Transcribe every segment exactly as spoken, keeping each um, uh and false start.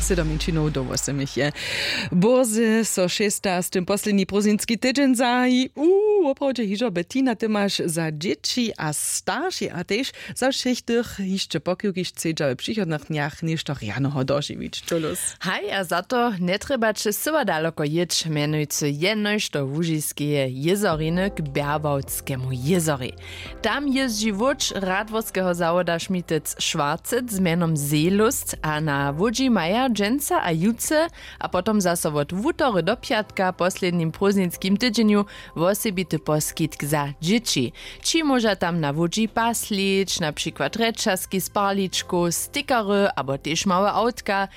Sydom minčinow do wósemich je. Bórze so šesta z tym posledni prózdninski tydźeń zahaji. Uuu, woprawdźe hižo. Bettina, ty maš za dźěći a staršej a tež za wšěch tych hišće pokiwki chcedźa w přichodnych dnjach něšto rjanoho dožiwić. Čulows. Haj, a za to njetrjebaće syła daloko jěć, mjenujcy jenož do łužiskeje jězoriny k bjerwałtskemu jězorej. Tam jězdźi łódź radworskeho zawoda šmitec šwarcec z mjenom seelust a na łódźi maja dźensa a jutře a potom zaso wot wutory do pjatka w poslednim prózdninskim tydźenju wosebity poskitk za dźěći. Ći móža tam na łódźi paslić na přikład rječazki z parličkow, stickery abo tež małe awtka.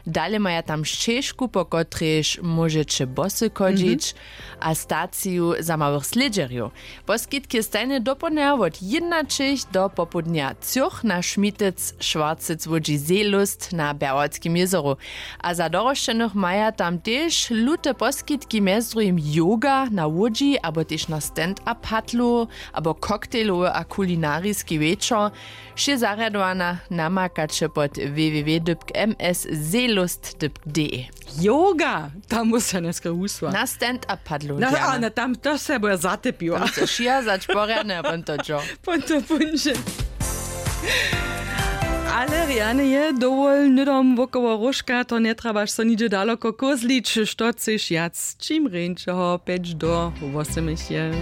Dale maja tam šćežku, po kotrejž móžeće bosy chodźić, a staciju za małych slědźerjow. Poskitk je stajnje dopołdnja wot jědnaćich do popołdnja třoch na šmitec šwarcec łódźi seelust na bjerwatskim jězoru. A za dorosćenych maja tam tež lute poskitki, mjez druhim yoga na łódźi abo tež na stand-up padlu abo koktejlowy a kulinariski wječor. Wšě zarjadowana namakaće pod www dypk m s seelust dypk d e. Yoga, tam musa njeske husła na stand-up padlu. Na, a na tam to se bo ja zatepiła. Tam se šija zać porjadne a pon to džo. Pon to punže. Ale rjane je dowol hnydom wokoło róžka, to njetrabaš so nidźe daloko kózlić. Što chceš wjac? Čim rjeńšeho pjeć do wósemich je.